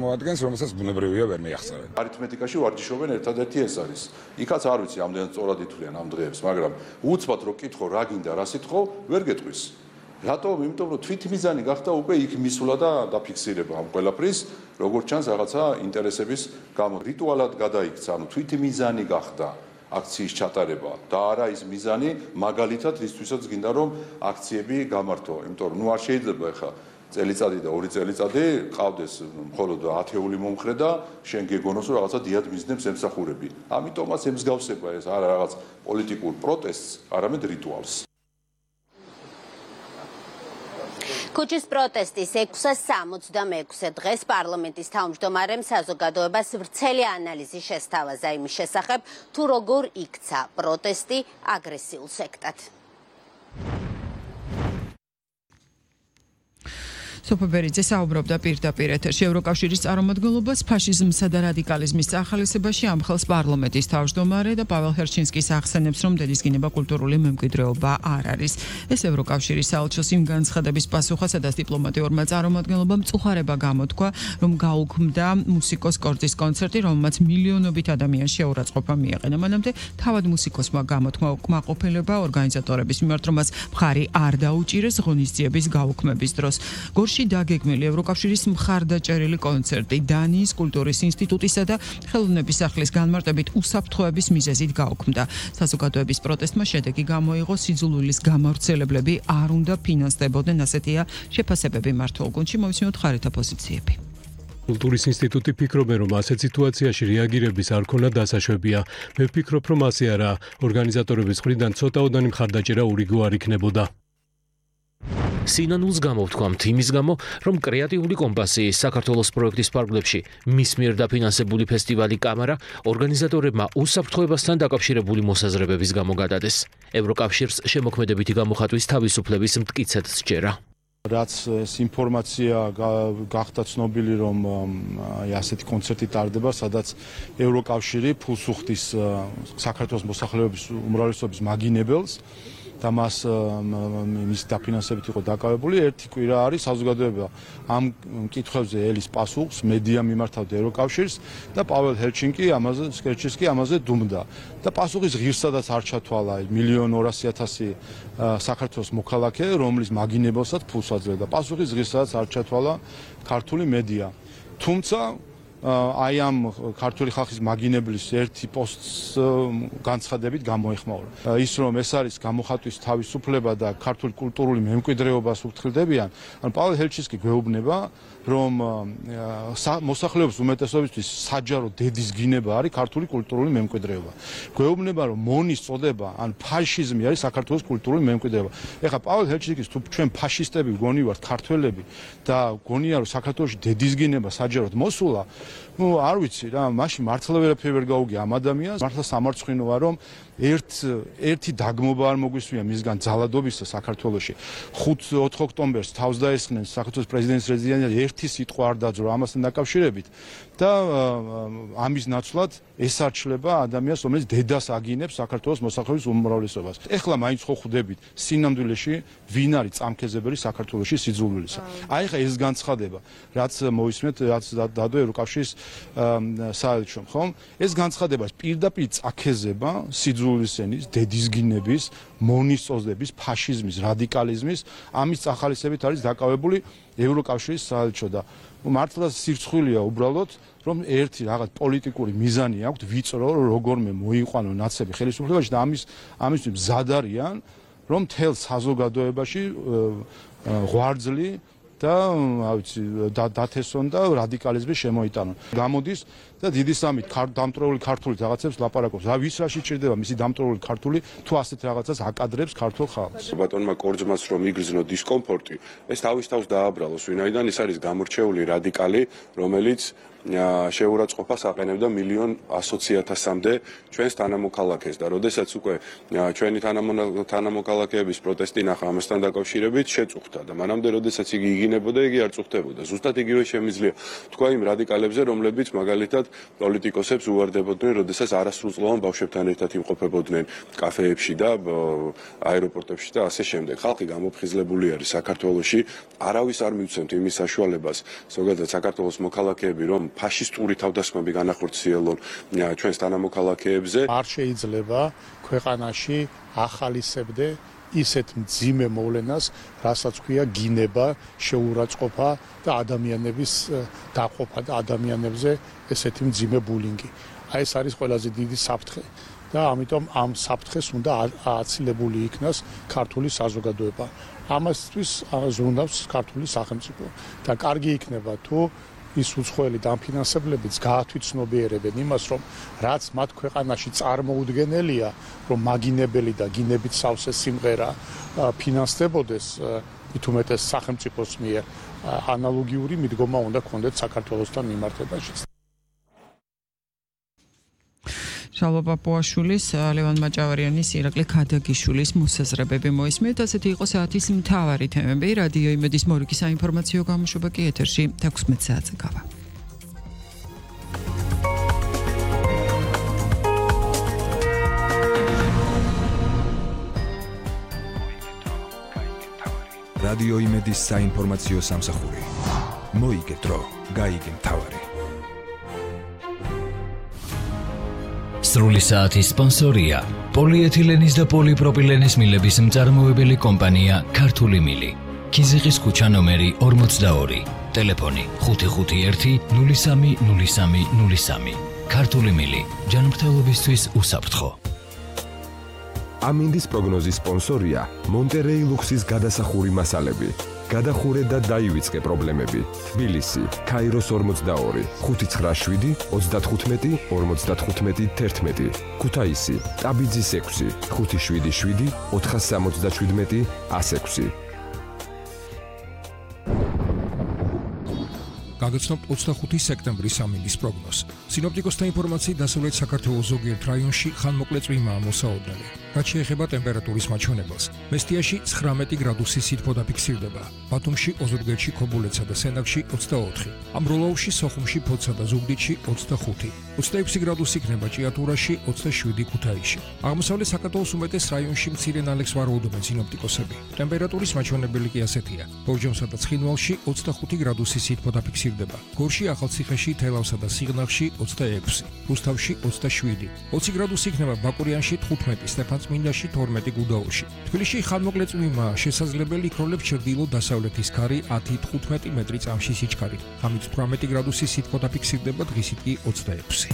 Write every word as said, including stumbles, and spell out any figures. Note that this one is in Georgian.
მოადგენს, რომელსაც ბუნებრივია ვერ მიახსენებენ. არითმეტიკაში ვარჯიშობენ ერთადერთი ეს არის. იქაც არ ვიცი ამდენად სწორად ითვლიან ამ დღეებს, მაგრამ უცბად რო კითხო რა გინდა, რა სიტყვა, ვერ გეტყვის. რატომ? იმიტომ რომ თვითმიზანი გახდა უკვე იქ მისვლა და დაფიქსირება ამ ყველაფრის, როგორც ჩანს რაღაცა ინტერესების გამო რიტუალად გადაიქცა, ანუ თვითმიზანი გახდა აქციის ჩატარება და არა ის მიზანი, მაგალითად ისთვისაც გინდა რომ აქციები გამართო, იმიტომ რომ ნუ არ შეიძლება ახლა წელიწადი და ორი წელიწადი ყავდეს მხოლოდ ათეული მომხრე და შენ გეგონოს რომ რაღაცა დიად მიზნებს ემსახურები. ამიტომაც ემსგავსება ეს არა რაღაც პოლიტიკურ პროტესტს, არამედ რიტუალს. ქუჩის პროტესტის ექვსას სამოცდამექვსე დღეს პარლამენტის თავმჯდომარემ საზოგადოებას ვრცელი ანალიზი შესთავაზა იმის შესახებ, თუ როგორ იქცა პროტესტი აგრესიულ სექტად. სოფო ბერიძე საუბრობდა პირდაპირ ეთერში ევროკავშირის წარმომადგენლობას ფაშიზმსა და რადიკალიზმის წახალისებაში ამხელს პარლამენტის თავმჯდომარე და პაվել ჰერჩინსკის ახსენებს, რომ დედისგინება კულტურული მემკვიდრეობა არ არის. ეს ევროკავშირის საელჩოს იმ განცხადების პასუხა, სადაც დიპლომატიურმა წარმომადგენლობამ მწუხარება გამოთქვა, რომ გაუქმდა მუსიკოს კორძის კონცერტი, რომელმაც მილიონობით ადამიანს შეურაცხყოფა მიაყენა. მანამდე თავად მუსიკოსმა გამოთქვა უკმაყოფილება ორგანიზატორების მიმართ, რომ მას მხარი არ დაუჭირეს ღონისძიების გაუქმების დროს. გორში დაგეგმილი ევროკავშირის მხარდაჭერილი კონცერტი დანიის კულტურის ინსტიტუტისა და ხელოვნების სახლის განმარტებით უსაფრთხოების მიზეზით გაუქმდა. საზოგადოების პროტესტმა შედეგი გამოიღო, სიძულვილის გამავრცელებლები არ უნდა ფინანსდებოდნენ, ასეთია შეფასებები მართულ გუნდში. მოვისმინოთ ხარეთა პოზიციები. კულტურის ინსტიტუტი ფიქრობენ, რომ ასეთ სიტუაციაში რეაგირების არ ქონა დასაშვებია. მე ვფიქრობ, რომ ასე არა. ორგანიზატორების მხრიდან ცოტაოდანი მხარდაჭერა ურიგო არ იქნებოდა. სინანულს გამოვთქვამთ იმის გამო, რომ კრეატიული კომპასიის საქართველოს პროექტის ფარგლებში მის მიერ დაფინანსებული ფესტივალი კამარა ორგანიზატორებმა უსაფრთხოებასთან დაკავშირებული მოსაზრებების გამო გადადეს. ევროკავშირს შემოქმედებითი გამოხატვის თავისუფლების მტკიცედ სჯერა. რაც ეს ინფორმაცია გახდა ცნობილი, რომ ასეთი კონცერტი ტარდება, სადაც ევროკავშირი ფულს უხდის საქართველოს მოსახლეობის უმრავლესობის მაგინებელს და მას მის დაფინანსებით იყო დაკავებული. ერთი კვირა არის საზოგადოება ამ კითხვებზე ელის პასუხს, მედია მიმართავდა ევროკავშირს და პაվել ჰერჩინკი ამაზე სკერჩისკი ამაზე დუმდა. და პასუხის ღირსადაც არ ჩათვალა მილიონ ორასი ათასი საქართველოს მოქალაქე, რომლის მაგინებელსაც ფულს აძლევდა. პასუხის ღირსადაც არ ჩათვალა ქართული მედია. თუმცა აი ამ ქართული ხალხის მაგინებლის ერთი პოსტს განცხადებით გამოეხმაურა. ის რომ ეს არის გამოხატვის თავისუფლება და ქართული კულტურული მემკვიდრეობას უფრთხილდებიან, ან პაվել ჰერჩინსკი გვეუბნება, რომ მოსახლეობის უმეტესობისთვის საჯარო დედისგინება არის ქართული კულტურული მემკვიდრეობა. გვეუბნება, რომ მონის წოდება ან ფაშიზმი არის საქართველოს კულტურული მემკვიდრეობა. ეხლა პაվել ჰერჩინსკის თუ ჩვენ ფაშისტები გონივართ ქართველები და გონია რომ საქართველოში დედისგინება საჯაროდ მოსულა, ну არ ვიცი რა, მაშინ მართლა ვერაფერი ვერ გაუგია ამ ადამიანს. მართლა სამარცხვინოა, რომ ერთ ერთი დაგმობა არ მოგვისმია მისგან ძალადობისა საქართველოში. ხუთ ოქტომბერს თავს დაესხნენ საქართველოს პრეზიდენტის რეზიდენციაზე, ერთი სიტყვა არ დაძრო ამასთან დაკავშირებით და ამის ნაცვლად ესარჩლება ადამიანს, რომელიც დედას აგინებს საქართველოს მოსახლეობის უმრავლესობას. ეხლა მაინც ხო ხვდებით სინამდვილეში ვინ არის წამქეზებელი საქართველოში სიძულვილისა. აი ხა ეს განცხადება, რაც მოვისმენთ, რაც დადო ევროკავშირის საელჩომ, ხომ? ეს განცხადება პირდაპირ წაქეზება სიძულვილის ენის, დედისგინების, მონის წოდების, ფაშიზმის, რადიკალიზმის, ამის წახალისებით არის დაკავებული ევროკავშირის საელჩო და მართლა სირცხვილია უბრალოდ, რომ ერთი რაღაც პოლიტიკური მიზანი აქვს ვიწრო, როგორმე მოიყვანო ნაცები ხელისუფლებაში და ამის ამისთვის მზად არიან, რომ მთელ საზოგადოებაში ღვარძლი და ავიცი დათესონ და რადიკალიზმი შემოიტანონ. გამოდის და დიდი სამით დამტრეული ქართული რაღაცებს ლაპარაკობს. რა ვის რაში ჭირდება მისი დამტრეული ქართული თუ ასეთ რაღაცას აკადრებს ქართულ ხალხს. ბატონმა კორძმას რომ იგრძნო დისკომფორტი, ეს თავის თავს დააბრალოს, ვინაიდან ის არის გამორჩეული რადიკალი, რომელიც შეურაცხყოფას აყენებდა მილიონ ათი ათასამდე ჩვენს თანამოქალაქეს და როდესაც უკვე ჩვენი თანამოქალაქეების პროტესტი ნახა ამასთან დაკავშირებით შეწუხდა და მანამდე როდესაც იგი იგინებოდა იგი არ წუხდებოდა. ზუსტად იგივე შემიძლია თქვა იმ რადიკალებზე, რომლებიც მაგალითად პოლიტიკოსებს უვარდებოდნენ, როდესაც არასრულწლოვან ბავშვებთან ერთად იმყოფებოდნენ კაფეებში და აეროპორტებში და ასე შემდეგ. ხალხი გამოფხიზლებული არის საქართველოში, არავის არ მივცემთ იმის საშუალებას, ზოგადად საქართველოს მოქალაქეები რომ ფაშისტური თავდასხმები განახორციელონ ჩვენს თანამოქალაქეებზე. არ შეიძლება ქვეყანაში ახალისებდე ისეთ მძიმე მოვლენას, რასაც ქვია გინება, შეურაცხყოფა და ადამიანების დაყოფა და ადამიანებზე ესეთი მძიმე ბულინგი. აი ეს არის ყველაზე დიდი საფრთხე და ამიტომ ამ საფრთხეს უნდა აცილებული იქნას ქართული საზოგადოება. ამასთვის ზრუნავს ქართული სახელმწიფო და კარგი იქნება თუ ის უცხოელი დამფინანსებლებიც გაათვითცნობიერებენ იმას, რომ რაც მათ ქვეყანაში წარმოუდგენელია, რომ მაგინებელი და გინებით სავსე სიმღერა ფინანსდებოდეს, მით უმეტეს სახელმწიფოს მიერ, ანალოგიური მიდგომა უნდა ქონდეთ საქართველოსთან მიმართებაში. შალვა პაპუაშვილის, ლევან მაჭავარიანის, ირაკლი ქადაგიშვილის მოსაზრებები მოისმენთ. ასეთი იყო საათის მთავარი თემები. რადიო იმედის მორიგი საინფორმაციო გამოშვება კი ეთერში თექვსმეტ საათზე გავა. რადიო იმედის საინფორმაციო სამსახური. მოიგე დრო, გაიგე მთავარი. სრული საათის სპონსორია პოლიეთილენის და პოლიპროპილენის მილების მწარმოებელი კომპანია ქართული მილი. ქიზიყის ქუჩა ნომერი ორმოცდაორი. ტელეფონი ხუთი ხუთი ერთი ნული სამი ნული სამი ნული სამი. ქართული მილი. ჯანმრთელობისთვის უსაფრთხო. ამინდის პროგნოზის სპონსორია მონტერეი ლუქსის გადასახური მასალები. გადახურე და დაივიწყე პრობლემები. თბილისი, ქაიროს ორმოცდაორი, ხუთი ცხრა შვიდი ოცდათხუთმეტი ორმოცდათხუთმეტი თერთმეტი. ქუთაისი, ტაბიძის ექვსი, ხუთი შვიდი შვიდი ოთხასამოცდაშვიდმეტი ასექვსი. გაგაცნობთ ოცდახუთი სექტემბრის ამინდის პროგნოზს. სინოპტიკოსთა ინფორმაციით დასავლეთ საქართველოს ზოგიერთ რაიონში ხანმოკლე წვიმაა მოსაოდნელი. რაც შეეხება ტემპერატურის მაჩვენებელს, მესტიაში ცხრამეტი გრადუსი სითბო დაფიქსირდება, ბათუმში, ოზურგეთში, ქობულეთსა და სენაკში ოცდაოთხი, ამბროლაუში, სოხუმში, ფოთსა და ზუგდიდში ოცდახუთი, ოცდაექვსი გრადუსი იქნება ჭიათურაში, ოცდაშვიდი ქუთაისში. აღმოსავლეთ საქართველოს უმეტეს რაიონში მცირე ნალექს ვარაუდობენ სინოპტიკოსები. ტემპერატურის მაჩვენებელი კი ასეთია: ბორჯომსა და ცხინვალში ოცდახუთი გრადუსი სითბო დაფიქსირდება, გორში, ახალციხეში, თელავსა და სიღნაღში ოცდაექვსი, რუსთავში ოცდაშვიდი, ოცი გრადუსი იქნება ბაკურიანში, თხუთმეტი, სტეფანწმინდაში, თორმეტი გუდაურში. თბილისში ხანმოკლე წვიმაა, შესაძლებელი იქროლებს ჩრდილო-დასავლეთის ქარი ათი თხუთმეტი მეტრი წამში სიჩქარით. ღამით თვრამეტი გრადუსი სითბო დაფიქსირდება, დღისით კი ოცდაექვსი.